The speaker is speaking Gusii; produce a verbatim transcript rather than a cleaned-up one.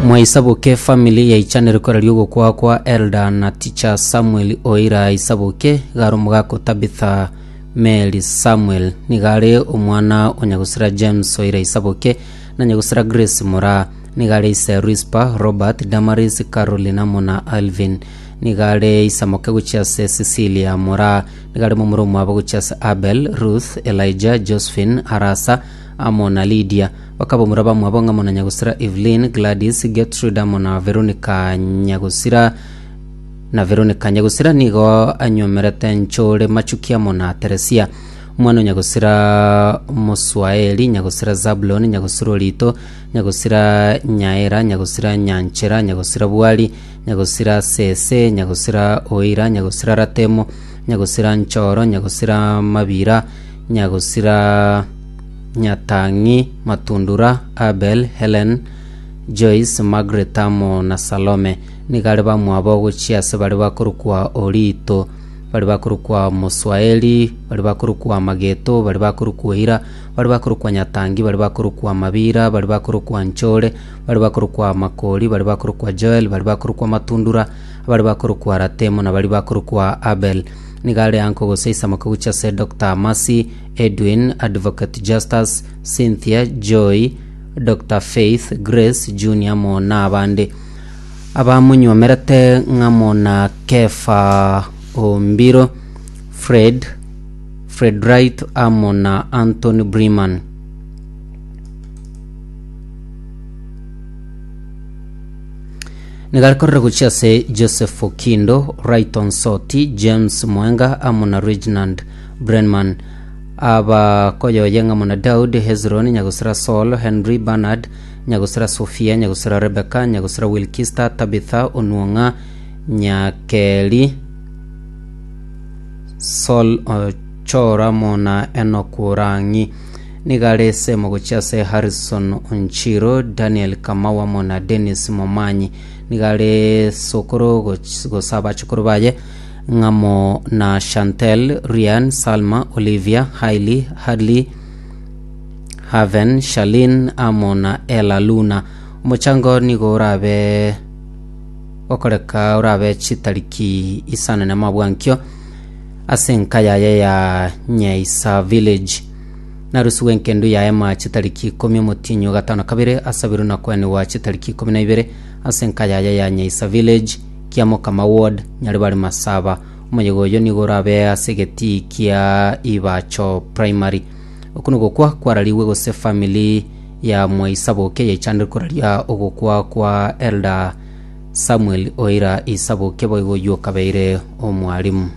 Mwaisaboke family yaichanire koraria ogokwa kwa Elder na Teacher Samuel Oira Isaboke garo omogaka Tabitha Mary Samuel nigare omwana o Nyagusira James Oira Isaboke na Nyagusira Grace Mura nigare ise Rispa Robert Damaris Caroline amo na Alvin nigare Isamoke gochia ase Cecilia Mura nigare momura omwabo gochia ase Abel Ruth Elijah Josephine Arasa amo na Lydia bakaba bamwabo ng'amo na Nyagusira Evelyn Gladys Gertrude amo na Veronica Nyagusira na Veronica Nyagusira nigo anyomerete Nchore Machuki amo na Teresia omwana o Nyagusira Moswaeli Nyagusira Zabulon Nyagusira Orito Nyagusira Nyaera Nyagusira Nyanchera Nyagusira Bwali Nyagusira Sese Nyagusira Oira Nyagusira Ratemo Nyagusira Nchoro Nyagusira Mabira Nyagusira Nyatangi Matundura Abel Helen Joyce Margaret amo na Salome nigare bamwabo gochia ase bari bakorokwa Orito bari bakorokwa Moswaeli bari bakorokwa Mageto bari bakorokwa Oira bari bakorokwa Nyatangi bari bakorokwa Mabira bari bakorokwa Nchore bari bakorokwa Makori bari bakorokwa Joel bari bakorokwa Matundura bari bakorokwa Ratemo na bari bakorokwa Abel nigare anko gose isamako gochia ase Dr. Mercy Edwin Advocate Justus Cynthia Joy Dr. Faith Grace Junior amo na abande abamunywomerete ng'amo na Kefa Ombiro Fred Fred Wright amo na Anthony Breman nigarekorera gochia ase Joseph Okindo Wrighton Soti James Mwenga amo na Reginald Brenman abakoyoye ng'amo na Daud Hezron Nyagusira Saul Henry Bernard Nyagusira Sofia Nyagusira Rebecca Nyagusira Wilkista Tabitha Onuong'a Nyakeli Sol Ochora amo na Enoch Orangi nigare semo gochia ase Harrison Onchiro Daniel Kamau amo na Dennis Momanyi nigare sokoro goch- gose abachokoro baye ng'amo na Chantel Rian Salma Olivia Hailey Hadley Haven Shalin amo na Ella Luna omochango nigo orabe okoreka orabe chitariki isano na mabwankio ase enka yaye ya Nyaisa village narusiwe enkendu yaye ma chitariki ikomi omotinyo gatano kabere asabiru na kweniwa chitariki ikomi na ibere ase enka yaye ya Nyaisa village kiamokama ward nyaribari masaba omoyega oyo nigo orabe ase egetii kia Ibacho primary oku nogokwa kwarariwe gose family ya Mwaisaboke yaichandire koraria ogokwa kwa Elder Samuel Oira Isaboke boigo oywo okabeire omwarimu.